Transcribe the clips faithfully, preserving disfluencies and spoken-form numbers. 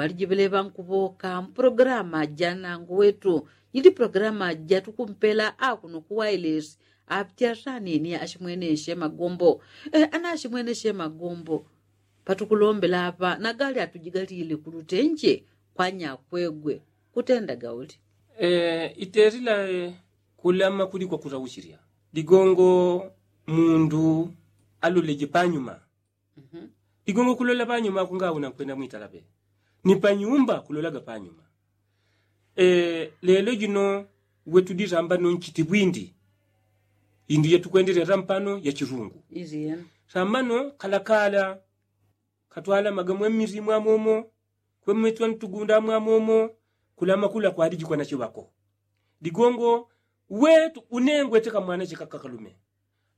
Ŵalijivile ŵankuŵoka mpulogalamu ja nangu wetu, jili pulogalamu jatukumpela akuno kuwailesi apyasani ni ashimweneshe magombo. Ana ashimweneshe magombo, patukulombela apa nagali atujigalile kulutenje kwa nyakwegwe, kutendaga uli? Itelila kulama kuli kwa kutauchilya. Ligongo mundu aloleje panyuma. Ligongo kulola panyuma kunga una nkwenda mwitala pe, ni panyumba kulolaga panyuma. Lelo jino wetudi sambano nchiti bwindi. Indu yatukwendelya tampano ya chilungu. Sambano kalakala katwalamaga mwemili mwamomo, kwemwetwa ntugunda mwamomo, kulama kula kwaliji kwa nachiŵako. Ligongo wetu une ngweteka mwanache kakakalume,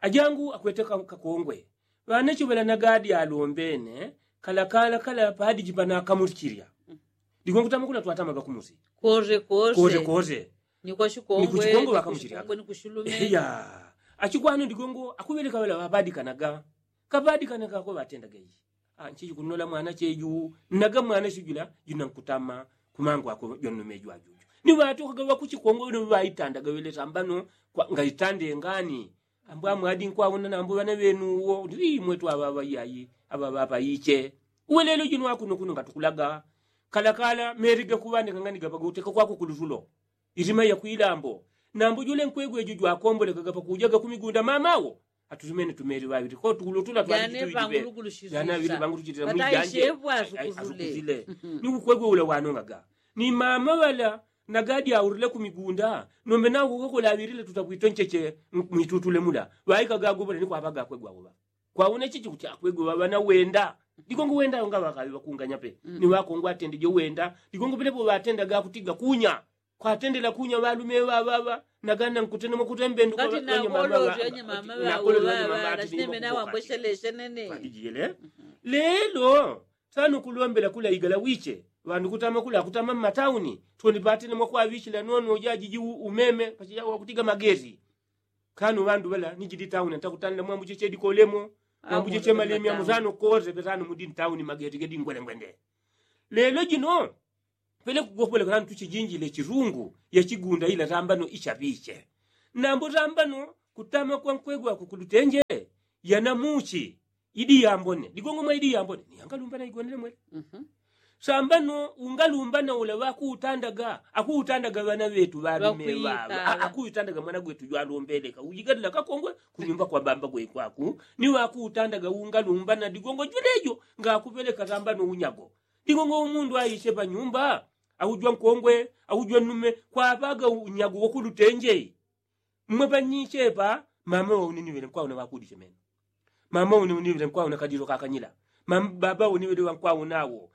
ajangu akweteka kakongwe. Ŵanache ŵala nagadi alombene kalakala kala padiji panakamulichilya. Ligongo tama kula twatamaga kumusi. Koze koze. Ni kwa chikongwe ŵakamuchilyaga. Ni kushulume. Achikwano ligongo akuŵeleka ŵala ŵapadikanaga. Kapadikanaga ko ŵatendaga ichi. Nchichi kunola mwanache ju naga mwanache jula juna nkutama kumangu ako jwannume jwajuju. Ni ŵatokaga ŵakuchikongwe ni ŵaitandaga ŵele sambano ngaitandenga ni ambu amwadi nkwauna nambu ŵana ŵenu uwo ndi mwetu aŵaŵa iyayi. Aŵaŵa apa iche uwe lelo jino akuno kuno ngatukulaga. Kalakala meli gakuŵandika ngani gapaga uteka kwako kulusulo. Ilima ya kwilambo nambu jule nkwegwe ju jwakombolekaga pakujaga kumigunda mamawo. Atutumene tumeli ŵaŵili kotu kulutula twajane ŵangulugulushiza. Jane aŵili ŵangulushilila mwijanje. Asukuzile ni ukwegwe ula wanongaga ni mama ŵala nagadi aulile kumigunda. Nombe nakukokola aŵilile tutapwito ncheche mwitutule mula ŵaikaga agobola ni kwaŵaga akwegwa awo ŵa kwauna chichi kuti akwegwe ŵaŵana wenda. Ligongo wenda ngaŵakaŵi ŵakunganya pe ni ŵakongwe atendeje wenda. Ligongo pelepo ŵatendaga kutiga kunya kwatendela kunya ŵalume ŵaŵaŵa. Nagana nkutene mwakutembenduka. Lelo sana ukulombela kula igala wiche ŵandu kutama kula kutama mmatauni. Twoni patene mwakwaŵichila nono jajiji umeme pachijawa kutiga magezi. Kano ŵandu ŵala ni jidi tauni ntakutanila mwambu cheche dikolemo mwambu cheche malemya musano koze petano mudi ntauni magezi gedi ngwelengwende. Lelo jino pele kugopole kula ntuchijinjile chilungu ya chigunda ila sambano ichaŵiche. Nambu sambano kutama kwa nkwegwe ako kulutenje yanamuchi. Idi yambone ligongo mwa idi yambone ni yangalumbana igonele mwele. Sambano ungalumbana ula ŵakuutandaga akuutandaga ŵana ŵetu ŵalume ŵaŵa akuutandaga mwana gwetu jwalombeleka ujigalila kakongwe kunyumba kwa bamba gwe kwaku. Ni ŵakuutandaga ungalumbana ligongo jwelejo ngakuŵeleka sambano unyago. Ligongo umundu aiche panyumba aujwa nkongwe aujwa nnume kwaŵaga unyago wakulutenje. Mmwe panyichepa mama waune ni ŵele nkwauna ŵakudiche meno. Mama waune ni ŵele nkwauna kadilo kakanyila. Baba waune ŵele ŵankwauna awo.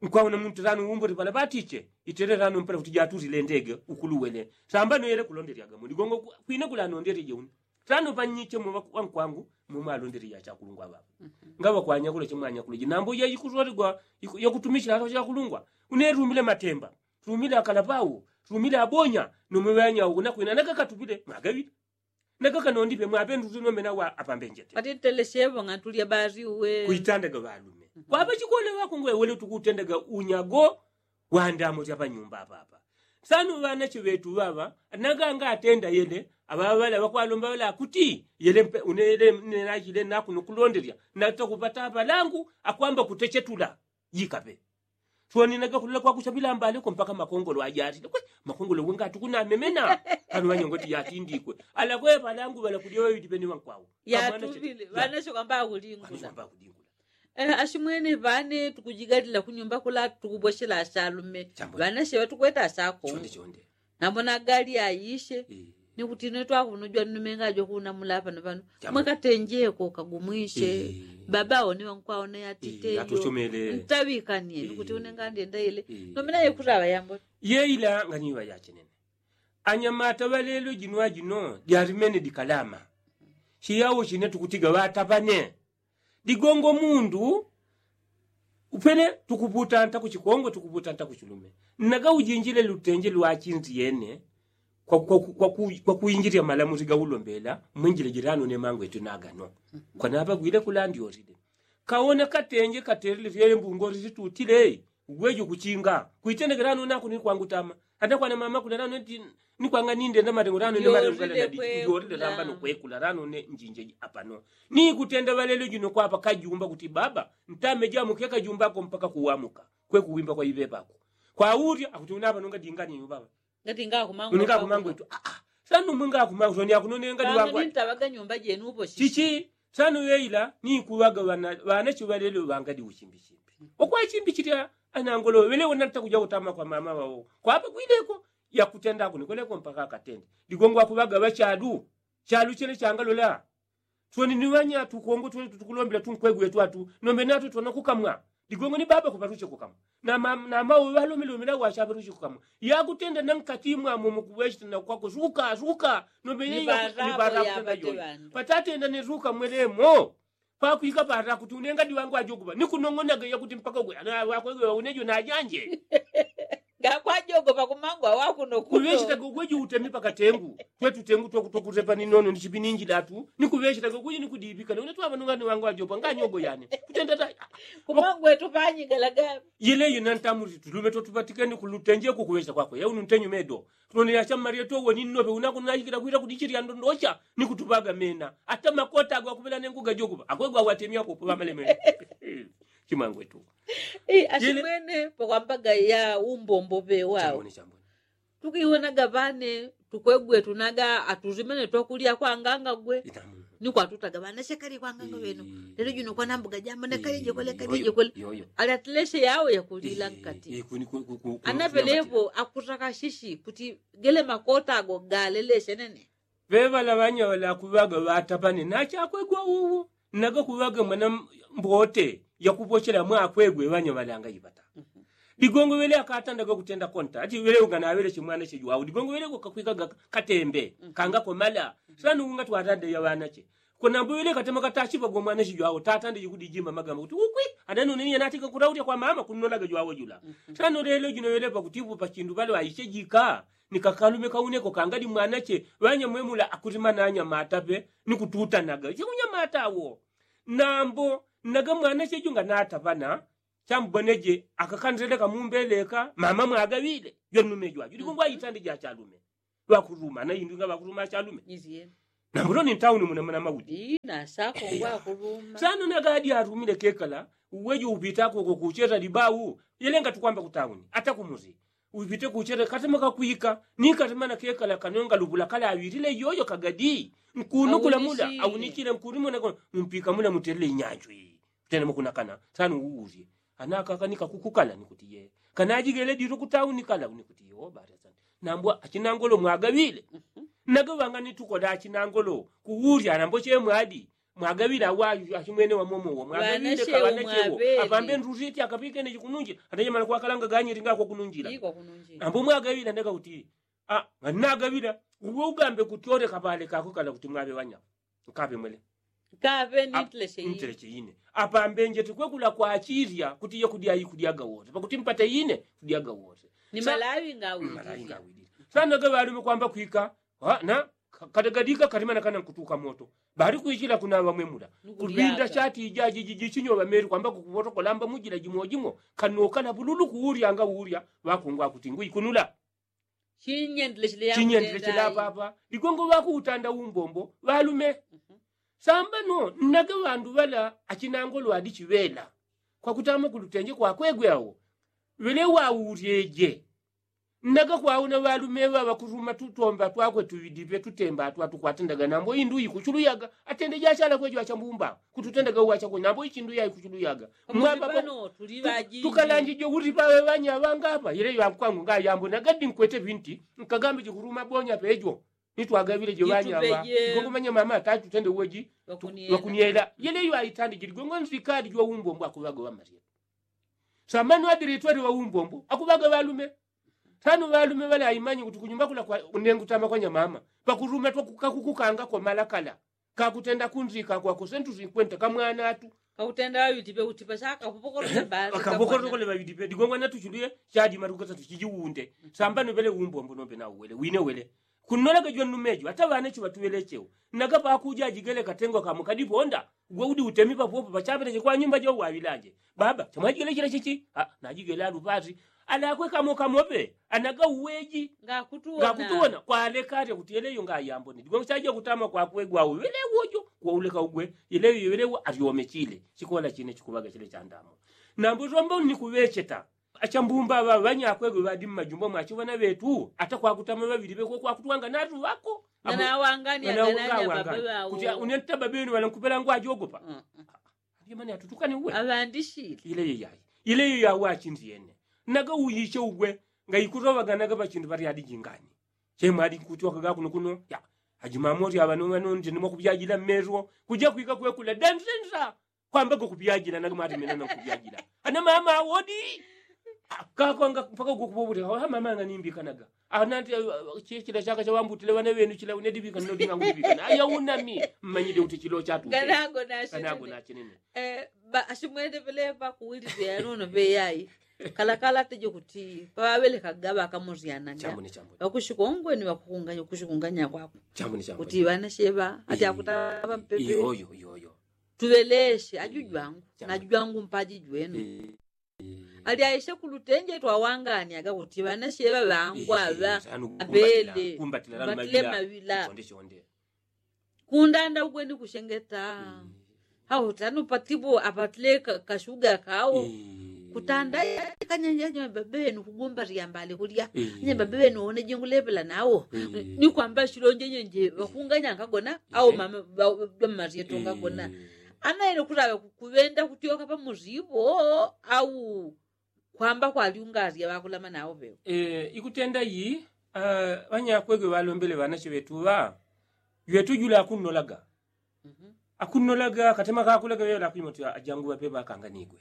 Nkwauna muntu tano umbuli pala patiche itele tano mpela kuti jatulile ndege ukuluwele. Sambano yele kulondelyaga muligongo kwine kulanondeleje une. Tano panyiche mwe ŵankwangu mwe mwalondeleje achakulungwa ŵaŵa. Ngaŵa kwanyakula chemwanyakula jinambo yayikusolegwa yakutumichila achakulungwa. Une lumile matemba lumile akalapau lumile abonya. Nomwe ŵanyauku nakwina nagakatupile mwagaŵile. Nagakanondipe mwapendutu nomena wa apambenjete atiteleshevo ng'atulya basi uwe. Kuitandaga ŵalume kwapa chikona ŵakungwe wele tukutendaga unyago. Wandamo tyapanyumba apapa. Sano ŵanache ŵetu ŵaŵa naganga atenda yele aŵaŵa ŵala ŵakwalomba ŵala akuti yele mpe unele nenachile nakuno kulondelya natakupata apalangu akwamba kutechetula. Jikape swaninaga kulola kwakucha ŵilambale ko mpaka makongolo ajatile kwe. Makongolo wenga atukunamemena. Pano ŵanyongoti yatindikwe alakwe ŵalangu ŵalakulya ŵaŵili pene ŵankwawo. Yatuvile ŵanache kwamba akulingula. Ashimwene ŵane tukujigalila kunyumba kula tukubweshela ashalume. Ŵanache ŵatukweta ashako. Nambo nagali aishe. Ni kuti ine twakunujwa nnume ngajwa kunamula pano pano mwakatenjeko kagumwishe. Baba aone ŵankwaona yatitejo ntaŵikanie ni kuti une ngandienda ile. Nomena yekutaŵa yambo yeila nganiŵa yachenene. Anyamata ŵalelo jino ajino jalimene dikalama. Chiyawo chine tukutiga ŵatapane. Digongo mundu upene tukuputa nta kuchikongwe tukuputa nta kuchilume. Nnaga ujinjile lutenje lwachinzi yene kwa kuinjilya malamuzi gaulombela mwenjile jilano ne mangwetu nagano. Kwanapagwile kulandyolile kaona katenje katelile fyele mbungoli zitutile. Ugweji ukuchinga kwitendekerano nako ni kwangutama. Hata kwana mama kuna rano eti ni kwanga ninde na marengo rano ni marengo gala na diji. Ndiorile lamba no kwekula rano ne njinje apano ni kutenda valelo jino kwapa kajumba kuti baba ntame jamu keka jumba ko mpaka kuwamuka. Kwe kuwimba kwa ive pako kwa urya akuti unapa nonga dingani baba. Ngati ngakumangwe tu ah ah. Sanu mwe ngakumangwe tu ni akunone ngati wangwa. Ntawaga nyumba jenu upo chichi. Sanu yeila ni kuwaga wana wana chiwalelo wangadi uchimbi chimbi. Okwa chimbi chilya anangolo wele wona ntakuja utama kwa mama wao kwapa kwileko. Yakutenda kuni kweleko mpaka akatende. Ligongo akuwaga wachadu. Chadu chele changalola. Tweni ni wanya tukongo tweni tutukulombela tunkwegwe twatu nombe natu twana kukamwa. Ligongo ni baba kuparuche kukamwa na mama na mama walomilomila wachaparuche kukamwa. Yakutenda na nkati mwa mumu kuweshita na kwako zuka zuka nombe ni bara kutenda yoyo. Patatenda ni zuka mwelemo. Pakwika para kuti unenga diwangu ajokupa ni kunong'onaga yakuti mpaka gwe ana wakwegwe unejo na janje. Ngakwajogopa kumangwa wakuno kuno kuŵechitaga ugweji utemi pakatengu. Twetutengu twakutepa ni nono ni chipininjilatu ni kuŵechitaga ugweji ni kudibika none twaŵanung'ani wangu ajopa nganyogo yane. Kutendata kumangwetu panyigalaga. Yeleyo nantamuli tulume twotupatikeni kulutenje kukuŵechita kwakwe yaunu ntenyu medo. Tunone yachammarie towo ni nnope unakunajikila kwila kudichilya ndondocha ni kutupaga mena. Ata makota agwa kuŵela nengu gajokupa akwegwa watemya kupo ŵamaleme. Chimangwetu. Achimwene pakwambaga ya umbombo pe wao. Tukiwonaga ŵane tukwegwe tunaga atuzimene twakulya kwanganga gwe. Ni kwatutaga ŵana shekali kwanganga ŵeno. Lelo juno kwanambuga jambo nekalijekole kalijekole. Ali atileshe yao yakulila nkati. Anapelepo akutaka shishi kuti gele makota ago galeleshe nene. Ŵeŵala ŵanya ŵalakuŵaga ŵatapane nachakwegwa uwu. Nagakuŵaga mwana mbote yakupochela mwakwegwe ŵanya ŵalanga ipata. Ligongo ŵele akatandaga kutenda konta ati ŵele unganaŵele chimwana chejwau ligongo ŵele ukakwikaga katembe kanga komala. Sana unga twatande ya ŵanache. Konambo ŵele katema katachipa gomwana chejwau tatande jikudijima magamba kuti ukwi. Ananone niye natika kuraulya kwa mama kunolaga jwau jula. Sana lelo jino ŵele pakutipu pachindu ŵale ŵaichejika. Ni kakalume kauneko kangadi mwanache ŵanyamwemula akuti mananya matape ni kututanaga chikunyamata wo. Nambo naga mwanache junga nataŵana chamboneje akakandeleka mumbeleka mama mwagaŵile. Jwanume jwajo likungwa itande jachalume. Ŵakuruma na indu nga ŵakuruma achalume. Nambo loni ntauni muna muna maudi. Sana naga adi arumile kekala uwejo upitako kukucheta libau. Yelenga tukwamba kutauni ata kumuzi. Upite kuchele katema kakwika ni katema na kekala kanonga lubula kala awilile yoyo kagadi. Nkunu kula mula aunichile nkunu muna ko mpika muna mutele inyanjwi. Tena mukuna kana sana uwuzi. Anaka kanika kukukala nikutiye kana ajigele diru kutauni kala unikutiye obata sana. Nambwa achinangolo mwagawile. Naga wanga nitukoda achinangolo kuwuzi anambo che mwadi. Mwagawila awa achimwene wamomowo mwagawile kaŵanachewo. Apambe nduti eti akapikene chikununjila atanyamala kwakalanga ganyili ngakwakununjila. Ambo mwagawila ndeka kuti nagawila. Uwe ugambe kuti ole kapale kakukala kuti mwaŵe ŵanya. Nkaŵe mwele. Ntereche ine apambe nje tikwekula kwachilya kuti ye kudya ikulyaga wose pakuti mpate ine kudyaga wose. Ni malawi ngawilile sana gaŵalume kwamba kwika. Na kadagadika kalimana kana nkutuka moto. Bali kwichila kuna ŵamwemula kulwinda chati ijajiji jichinyo ŵameli kwamba kukupoto kolamba mujila jimojimo. Kanokala bululu kuwulyanga wulya ŵakungwa kuti ngwikunula. Chinyendile chila papa ligongo ŵakuutanda umbombo ŵalume. Sambano nnage ŵandu ŵala achinangolo adi chiŵela kwakutama kulutenje kwakwegwe awo. Ŵele wawulyeje. Nnaga kwauna ŵalume ŵa ŵakuluma tutomba twakwe tuŵidipe tutemba twa tukwatendaga nambo indu ikuchuluyaga. Atende jachala kwejo achambumba kututendaga uwachakwe nambo ichindu ya ikuchuluyaga. Mwamba tukalanjije uti pawe ŵanya ŵangapa yele ŵakwangu ngayambo nagadi nkwete ŵinti. Nkagambe chikuluma bonya pejo nitwagaŵile je ŵanya ŵa. Igongo manya mama atatu tende uweji ŵakuniela yele yo aitandi jiligongo nzikadi jwa umbombo akuŵaga ŵamalyetu. Samanu adilitwele ŵaumbombo akuŵaga ŵalume. Tano ŵalume ŵale aimanye kuti kunyumba kula kwa unengu tama kwanya mama pakuluma twakukakukukanga kwa malakala. Kakutenda kunzika kwa kusentu sinkwenta kamwana atu. Kakutenda ŵaŵitipe utipa saka kupokorole ŵaŵitipe digongo natuchuluye. Chadima tukata tuchijiwunde sambanu ŵele umbombo nombe nauwele wine wele. Kunnolaga jwannumejo ata ŵanecho ŵatuŵelechewo naga pakuja ajigele katengo kamukadiponda. Gwe udi utemi papopo pachapeleche kwa nyumba jo waŵilaje. Baba chamwajigele chila chichi? Najigele alupati. Alakwe kamo kamope anaga uweji. Ngakutuwona kwaleka atya kuti yeleyo ngayambone digwe chaja kutama kwakwe gwawe welewojo. Kwauleka ugwe yeleyo yelewo alyomechile. Chikola chine chikuŵaga chile chandamo. Nambo tombo nikuŵecheta. Achambumba ŵa ŵanyakwegwe ŵadi mmajumba mwachiŵana ŵetu ata kwakutama ŵaŵili ŵekwe kwakutwanga natu ŵako. Kuti unenta babenu ŵalankupela ngwajogopa. Alimani atutukane uwe aŵandishile. Ileyo yayi ileyo yawachindiene. Naga uyiche ugwe ngaikutoŵaga naga ŵachindu ŵalyadi jingani. Chemwadi kutyokaga kuno kuno ya ajimamoti aŵano ŵanonje nimwakupyajila mmerwo. Kuja kwika kwekula dandendra. Kwamba gokupyajila naga mwatemena nankupyajila. Ana mama awodi. Kakonga mpaka gokupopote ha mama anganimbikanaga. Anati chila chaka chawambutile ŵana ŵenu chila unedibika nodinga ngudibikana aya unami. Mmanyide kuti chilo chatu kanago nachinene. Ashimwende pelepa kuwilizya yanono peyayi. Kalakala tejo kuti paŵaŵelekaga ŵakamosyanaga ŵakushikongweni ŵakukunga kushikunganyakwako. Kuti ŵana sheŵa ati akutava mpepe. Tuŵeleshe ajujwangu najujwangu mpaji jwenu. Alyaishe kulutenje twawanganyaga kuti ŵanasheŵa ŵangu aŵa aŵele. Mbatile maŵila kundanda ugweni kushengeta. Hau tanu patipo apatile kashuga kawo kutanda kanyenjenye babenu kugumba lyambale kulya. Nye babenu one jingulepela nawo nikwamba shilonjenyenje ŵakunganya nkagona au mama ŵammaryeto nkagona. Anaile kulaŵa kuŵenda kutyoka pamusi ipo au kwamba kwalyungalya ŵakulama nawo pewo. Ikutenda yi ŵanyakwegwe ŵalombele ŵanache ŵetuŵa. Jwetu jula akunnolaga akunnolaga katema kakulaga ŵeŵala akwimoti ajangu ŵapeŵa akanganigwe.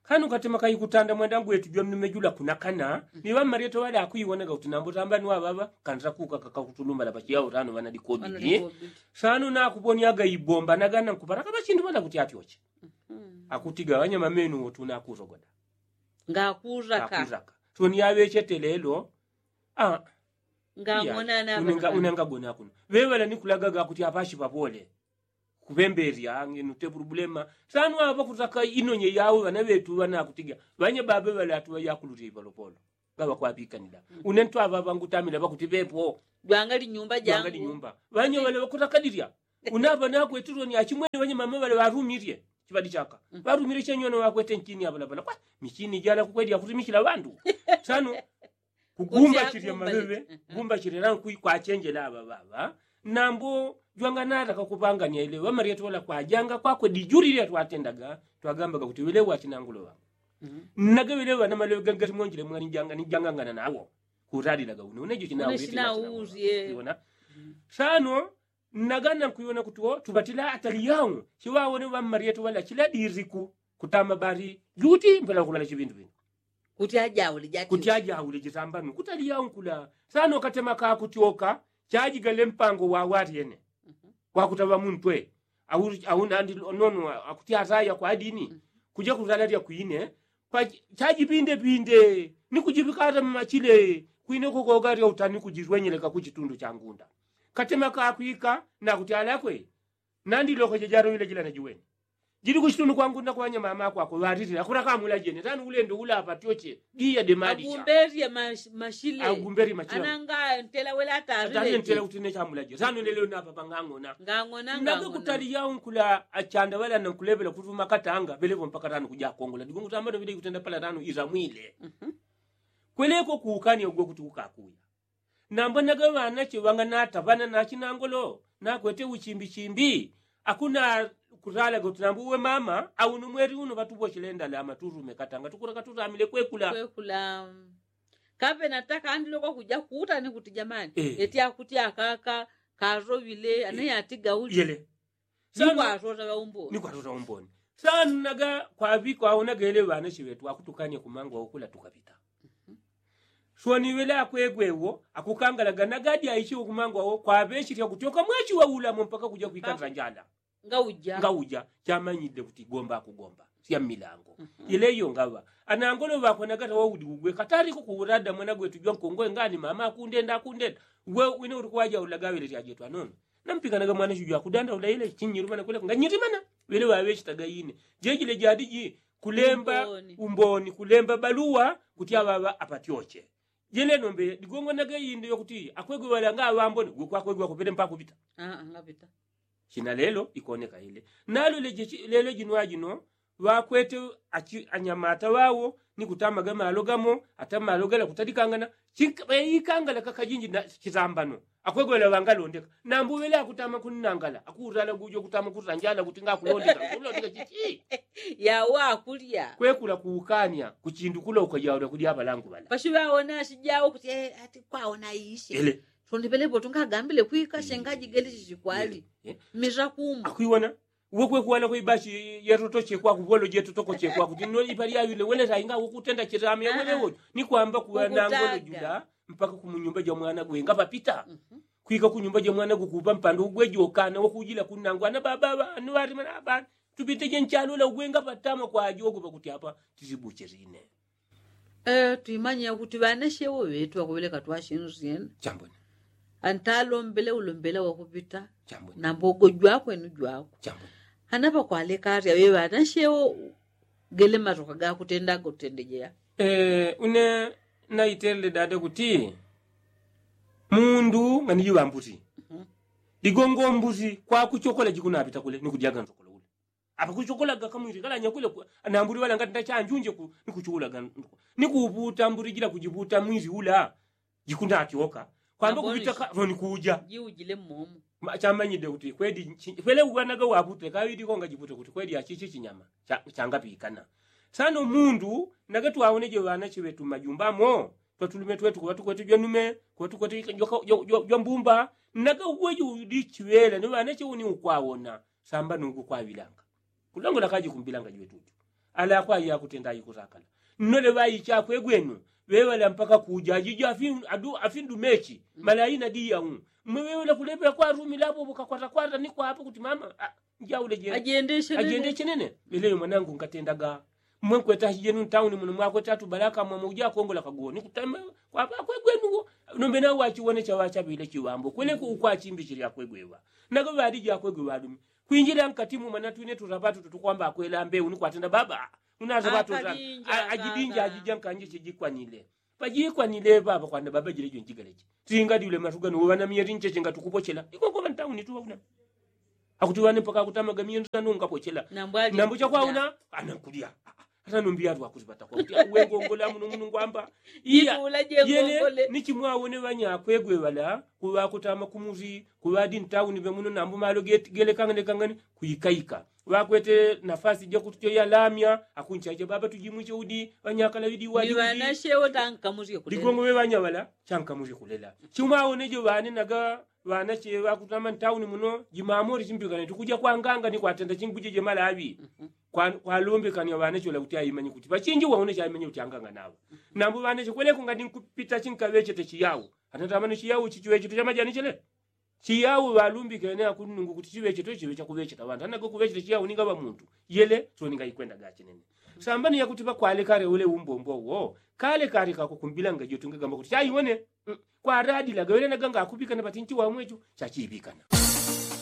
Kanu katema kaikutanda mwenda ngwetu jwamnume jula kunakana. Ni ŵammaryeto ŵala akwiwonaga kuti nambo tamba ni ŵaŵaŵa kantila kuka kakakutulumbala pachiyawo tano ŵanadikobidi. Sano nakuponyaga ibomba nagana nkupalaka ŵachindu ŵala kuti atyoche. Akutiga ŵanyamamenu wotu nakusogoda ngakuraka. Soni yaŵechete lelo. Unangagona kuno ŵeŵala nikulagaga kuti apashi papole. Kuŵembelya ngenu te pulubulema. Sano aŵa kutaka inonye yawo ŵana ŵetu ŵana akutiga ŵanya baba ŵala atuŵa yakululya ipolopolo. Ŵaŵa kwapikanila une ntu aŵa ŵangutamila ŵakuti ŵepo. Jwangali nyumba jangu ŵanya ŵala ŵakutakadilya. Unaŵa nakwetuloni achimwene ŵanya mama ŵala ŵarumilye. Chiŵadi chaka ŵarumilye chenyone ŵakwete nchini aŵalaŵala kwa michini jala kukwelya kutumishila ŵandu. Sano kugumbachilya maŵeŵe. Gumbachilila nkwi kwachenjela aŵa ŵaŵa. Nambo jwanganataka kupangania ileŵa malyetola kwajanga kwakwe dijulilya twatendaga twagambaga kuti ŵeleŵa achinangulo ŵangu. Nnaga ŵeleŵa na maleŵe gani gati monjile mwanijanga nijangangana nawo. Kutalilaga une unejo chinawulye. Sano nnagana nkuiwona kuti wo tuŵatila atali yawo chiŵawone ŵammalyeto ŵala chila diriku kutama bali juti mpela kuŵala chiŵindu ŵindu. Kuti ajaule jati kuti ajaule jitambanu kutali yawo nkula. Sano katema kakutyoka chajigale mpango wawalyene. Wakutaŵa muntwe au nandi nono akuti ataya kwa dini kuja kutala lya kwine. Chajipindepinde ni kujiŵikata mmachile kwine kukoga lya utani kujilwenyeleka ku chitundu cha ngunda. Katema kakwika nakuti alakwe nandi lokoje jaloŵile jila najiwene. Jili ku chitundu kwa ngunda kwa ŵanyamama akwako ŵalilila kula kamula jene tani ulendo ula apatyoche. Giya demalisha agumberye mashile agumberye mashile ananga ntela wele atalile ntela kuti ne chamula jene tani uleleo napa pangangona. Ngangona ngangona kutali yao nkula achanda ŵala nankuleŵela kutuma katanga ŵeleŵo mpaka tani kuja kongola digongo tambano ŵile ikutenda pala tani iramwile. Kweleko kuukani ugwe kuti ukakuya. Nambwenaga ŵanache ŵanganata ŵana nachinangolo nakwete uchimbichimbi. Akuna kutalaga kuti nambu uwe mama au numweli uno ŵatuposhele ndalama turume katanga tukula katuramile kwekula. Kwekula. Kape nataka andilokwa kuja kuuta ni kuti jamani eti akuti akaka karoŵile anaye atiga uli yele. Nikwatota ŵaumboni nikwatota umboni. Sanu naga kwaŵikwa awo naga ele ŵanache ŵetu akutukanye kumangwa ukula tukapita. Swaniŵele akwegwe wo akukangalaga naga adi aichiwe kumangwa wo kwaŵechilya kutyoka mwachiwa ulamo mpaka kuja kwikandila njala. Ngauja chamanyile kuti gomba akugomba sya mmilango. Ile iyo ngaŵa anangolo ŵakwe naga tawaudi ugwe katali kukuwulada mwana gwetu jwankongoe ngani mama akundenda akundenda. Ngwe wine uli kuwajaulaga wele lyajetwa nono. Nampikanaga mwana sijwa kudanda ulaile chinyirumana kule nga nyirimana. Wele wawe chitaga ine jejile jadiji kulemba umboni kulemba baluwa kuti awawa apatyoche. Jele nombe digongo nage inde yokuti akwegwe wala nga awambone gwe kwakwegwe akupele mpaka kupita. Aa ngapita. China lelo ikoneka ile nalo leje lelo jinwa jino. Wakwete anyamata wawo ni kutamaga malo gamo ata malo gala kutadikangana. Ikangala kakajinji na chitambano akwegwela wangalondeka. Nambu wele akutama kunnangala akurala gujo kutama kuranjala kutinga kulondeka kulondeka chichi. Yawo akulya kwekula kuukanya kuchindu kula ukajaula kulya abalangu bala. Pashi wawona ashijawo kuti ati kwawona ishe ele. Sonde pelepo tungagambile kwika shengaji geli chichikwali. Mira kumu akwiwona. Uwe kwekuwana kwe ibashi yatotoche kwaku wolo jetotoko chekwaku tino ipali yawile wele tainga ukutenda chitame wele wojo. Ni kwamba kuwa nangolo jula mpaka kumunyumba ja mwana gwe nga papita. Kwika kunyumba ja mwana gukupa mpando ugwe jokana wakujila kunangwa na baba banu wati mana abana. Tupite je nchalo la ugwe nga patama kwa ajogo pakuti apa tisibucherine. Twimanya kuti ŵanashewo ŵetu ŵakuŵeleka twashindu syena. Antalombele ulombela wakupita. Nambogo jwakwe ni jwakwe. Hanapakwaleka arya ŵe ŵanashewo gele matoka gakutendaga utendejeya. Une naitelele dada kuti mundu nganijiŵa mbuti. Ligongo mbuti kwakuchokola jikunapita kule ni kudyaga nzokolo ule. Apa kuchukulaga kamwili kalanya kule nambuli wala ngati ndachanjunje ku ni kuchukulaga. Ni kuuputa mbuli jila kujiputa mwili ula jikunatyoka kwamba kupita ka loni kuja. Jiujile mmomo. Chamanyide kuti kweli kwele uwanaga wapute kawili konga jipute kuti kweli achichi chinyama. Changapikana sano mundu naga twawoneje ŵanache ŵetu mmajumba mo. Twatulume twetu kuŵa tukwete jwanume kuŵa tukwete jwambumba. Naga uweje udichiŵela ni ŵanache uni ukwawona. Samba nungu kwaŵilanga kulongola kaji kumbilanga jwetutu. Ala kwai yakutenda ikusakala nnole ŵai chakwegwenu. Ŵeŵala mpaka kuja ajija afindu mechi. Malaina diya u mwe ŵeŵala kulepela kwarumila apo ŵukakwatakwata ni kwapo kuti mama. Njaule jene ajende chenene. Leleyo mwanangu nkatendaga mwe nkweta achi jenu ntauni muno mwakweta atu balaka mwamwe uja akongola kaguwo ni kutamba. Kwapa akwegwenuwo nombe nawo wachiwone chaŵachabile chiŵambo kweleko ukwachimbichile akwegwewa. Nago ŵalije akwegwe ŵalume kwinjila nkati mumwe natwine tutapatu tutukwamba akwela mbeu ni kwatenda baba. Unatapatu ajidinja ajija nkanje chijikwanile. Pajikwanile papa kwanda baba jile jwenjigaleche tinga diule matugano ŵanamiyeti ncheche ngatukupochela ikoko ŵantauni tuŵauna. Akuti ŵane mpaka akutamaga miyendo nanu ngapochela. Nambu chakwauna anankulya. Ata numbi yatu akuti patakwa kuti wengongola muno muno ngwamba. Iya yele ni chimwawone ŵanyakwegwe ŵala kuŵakutama kumusi kuŵadi ntauni ŵemuno nambu malo gelekanganekangane. Kuikaika ŵakwete nafasi jakuti choyalamya akunchache baba tujimwiche udi ŵanyakala ŵidi wadi. Ligongo ŵe ŵanya ŵala chankamurye kulela. Chimwawone jo ŵane naga ŵanache ŵakutama ntauni muno jimamori chimbikane tukuja kwanganga ni kwatenda chinguje jemalaŵi. Kwalombekanya ŵanache ŵala kuti aimanye kuti pachinji waone chaimanye kuti anganga naŵa. Nambu ŵanache kweleko ngati nkupita chinkaŵechete chiyawo. Anatamani chiyawo chichiŵechete chamajani chele. Chiyawo ŵalumbikene akunungu kuti chiŵechete chiŵe chakuŵecheta ŵantu anago kuŵecheta chiyawo ninga ŵamuntu. Yele so ninga ikwenda gachinene. Sambani yakuti ŵakwalekale ule umbombo wo. Kale kale kakukumbilanga jotunge gamba kuti chaiwone. Kwaradilaga wele naganga akupikana patinchi wamwecho. Chachiipikana.